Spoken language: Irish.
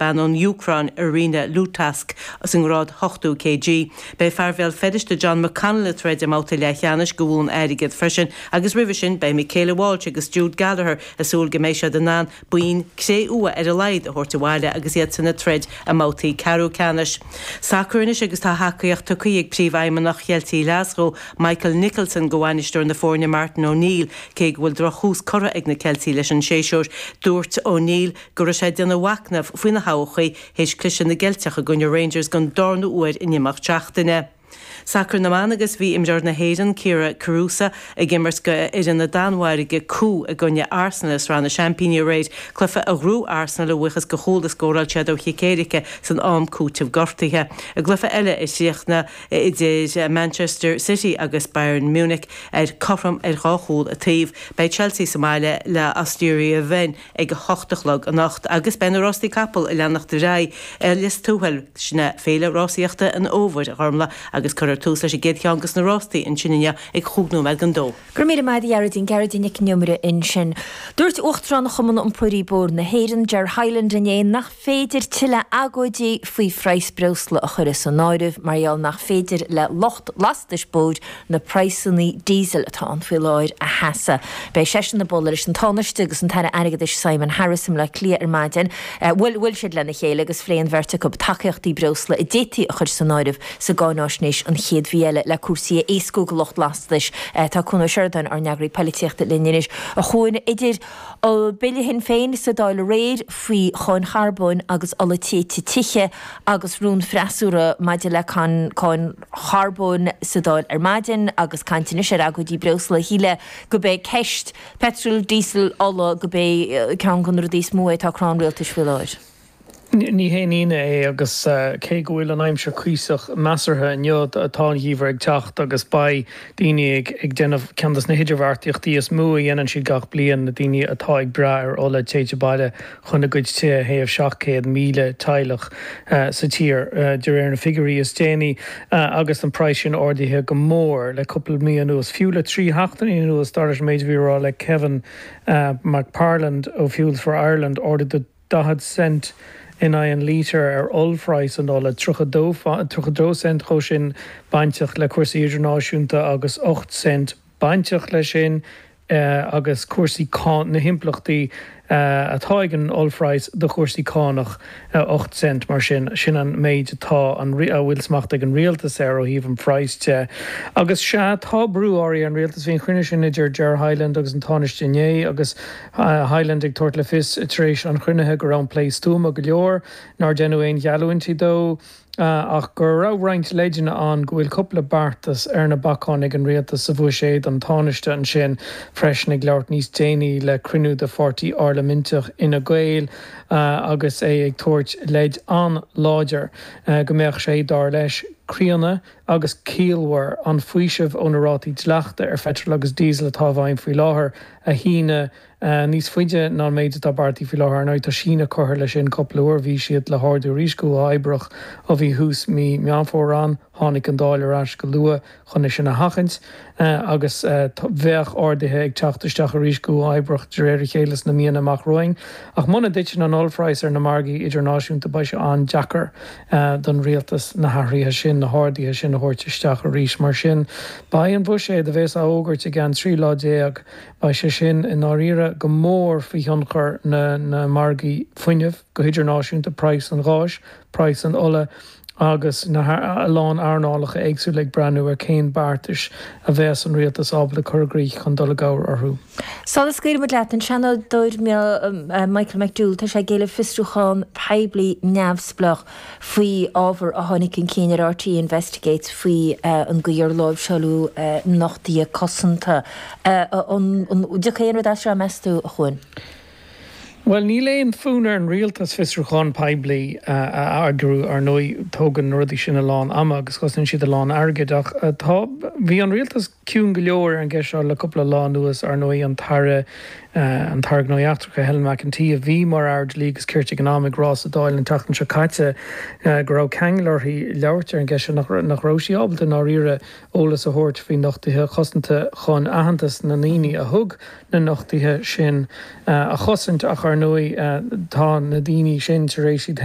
bean ón Úcráin, Irina Lutask, sa ngrád 80 kg. Beidh fear Bhéal Feirste John McConnell ag troid i mbabhta leathcheannais do bhonn airgid freisin agus roimhe sin beidh Michaela Walsh agus Jude Gallagher ag súil go mbeidh siad in ann boinn cré-umha ar a laghad a thabhairt abhaile agus iadsan ag troid i mbabhtaí ceathrú ceannais. Sacar anois agus tá tacaíocht tugtha ag Príomhfheidhmeannach Cheiltigh Ghlaschú, Michael Nicholson do bhainisteoir na foirne Martin O'Neill cé go bhfuil drochthús curtha ag na Ceiltigh leis an séasúr. Dúirt O'Neill go raibh sé ag déanamh machnaimh faoina thodhchaí théis cliseadh na gCeilteach i gcoinne Rangers don darna huair in imeacht seachtaine. Sacar na mBan agus bhí imreoir na hÉireann, Kyra Carusa, ag imirt do fhoireann na Danmhairge, CU, i gcoinne Arsenal i Sraith na Seaimpíní aréir, cluiche a ghnóthaigh Arsenal a bhuíochas do chúl a scóráil siad ó chic éirice san am cúitimh gortaithe. I gcluiche eile a chríochnaigh idir Manchester City agus Bayern Munich ar cothrom ar dhá chúl an taobh, beidh Chelsea sa mbaile le Austria Wien ag a hocht a chlog anocht agus beidh na rástaí capall ag leanacht ar aghaidh i Lios Tuathail. Sin é Féile Rásaíochta an Fhómhair, a Ghormlaith, agus cuirfear tús leis an gcéad cheann de na rástaí ansin inniu ag chúig nóiméad don dó. Go raibh míle maith agat a Ghearóidín, Gearóidín Nic an Iomaire ansin. Dúirt Uachtarán Chumann Iompóirí Bóthair na hÉireann, Ger Hyland inné nach féidir tuilleadh agóidí faoi phraghas breosla a chur as an áireamh mar gheall nach féidir le lucht lastais bóthair na praghsanna díosail atá ann faoi láthair a sheasamh. Beidh seisean ag bualadh leis an Tánaiste agus an tAire Airgeadais Simon Harris i mBleá Cliath ar maidin. Bhuel, bhuail siad lena chéile agus phléigh an bheirt acu tacaíochtaí breosla a d'fhéadfaí a chur san áireamh sa gcáináisnéis an chéad mhí eile le cúrsaí a éascú do lucht lastais. Tá Cuan Ó Seireadáin, ár n-eagraí poilitíochta, linn anois. A Chuain, idir Bille Shinn Féin sa Dáil aréir faoi cháin charbóin agus ola téite tithe agus rún freasúra maidir le cáin charbóin sa Dáil ar maidin agus caint anois ar agóidí breosla, shílfeá gurb é ceist peitril, díosail, ola, gurb é ceann de na rudaí is mó é atá ag crá an rialtais faoi láthair. Ní haon ionadh é agus cé go bhfuil an aimsir cuíosach measartha inniu, tá an geimhreadh ag teacht agus beidh daoine ag déanamh ceann de na hidirbheartaíochtaí is mó a dhéanann siad gach bliain, na daoine atá ag brath ar ola téite baile chun a gcuid tithe a théamh, 700,000 teaghlach sa tír de réir na figiúirí is déanaí agus an praghas sin ardaithe go mór le cúpla mí anuas, fiú le 3 sheachtainí anuas, dar leis an méid a bhí á rá le Kevin McParland ó Fuels for Ireland, ardú de. 40 cent in aghaidh an lítir ar ollphraghas an ola, 32 32 cent dhó sin bainteach le cúrsaí idirnáisiúnta agus 8 cent bainteach leis sin agus cúrsaí na himpleachtaí atá ag an ollphraghas do chúrsaí cánach, 8 cent mar sin. Sin an méid atá an a bhfuil smacht ag an rialtas air ó thaobh an phraghais de. Agus sea, tá brú áirithe ar an rialtas. Bhí an chruinniú sin idir Ger Hyland agus an Tánaiste inné agus Hyland ag tabhairt le fios tar éis an chruinnithe go raibh an plé stuama go leor, nár deineadh aon gheallúintí dó, ach go raibh roinnt leideanna ann go bhfuil cúpla beartas ar na bacáin ag an rialtas sa bhuiséad. An Tánaiste ansin freisin ag labhairt níos déanaí le cruinniú de pháirtí parlaiminteach Fhine Gael agus é ag tabhairt leid an-láidir go mbeadh sé, dar leis, críonna agus ciallmhar an faoiseamh ó na rátaí dleachta ar pheitreal agus díosal atá i bhfeidhm faoi láthair a shíneadh níos faide ná an méid atá beartaithe faoi láthair. Ar ndóigh, tá síneadh curtha leis sin cúpla uair. Bhí siad le hardú arís go huathoibríoch ó bhí thús mí Meán Fómhair ann. Tháinig an Dáil ar ais go luath chun é sin a sheachaint agus bheadh arduithe ag teacht isteach arís go huathoibríoch de réir a chéile sna míonna amach romhainn. Ach muna dtiteann an ollphraghas ar na margaí idirnáisiúnta beidh sé an-deacair don rialtas na hathruithe sin, na harduithe sin a thabhairt isteach arís. Mar sin, beidh an buiséad a bheas á fhógairt i gceann 13 lá, beidh sé sin i ndáiríre go mór faoi thionchar na margaí fuinnimh go hidirnáisiúnta, praghas an gháis, praghas an ola agus a lán earnálacha éagsúla ag breathnú ar cén beartais a bheas an rialtas ábalta cur i gcrích chun dul i gcabhair orthu. Sula scaoilfidh muid leat, an Seanadóir Michael McDowell, tá sé ag éileamh fiosrúchán poiblí neamhspleách faoi ábhar a tháinig chun cinn ar RTÉ Investigates faoi an gcaoi ar láimhseáladh nochtuithe cosanta. An dtiocfaidh aon rud as seo, meas tú, a Chuain? Bhuel, níl aon fhonn ar an rialtas fiosrúchán poiblí a eagrú, ar ndóigh. Tógann na rudaí sin a lán ama agus cosnaíonn siad a lán airgid. Ach tá, bhí an rialtas ciúin go leor ar an gceist seo le cúpla lá anuas, ar ndóigh, an tAire, an tAire Gnóthaí Eachtracha, Helen McEntee, a bhí mar Aire Dlí agus Cirt ag an am, ag rá sa Dáil an tseachtain seo caite go raibh ceangal uirthi labhairt ar an gceist seo, nach nach raibh sí ábalta i ndáiríre eolas a thabhairt faoi nochtuithe cosanta chun aitheantas na ndaoine a thug na nochtuithe sin a chosaint ach ar ndóigh tá na daoine sin tar éis iad féin.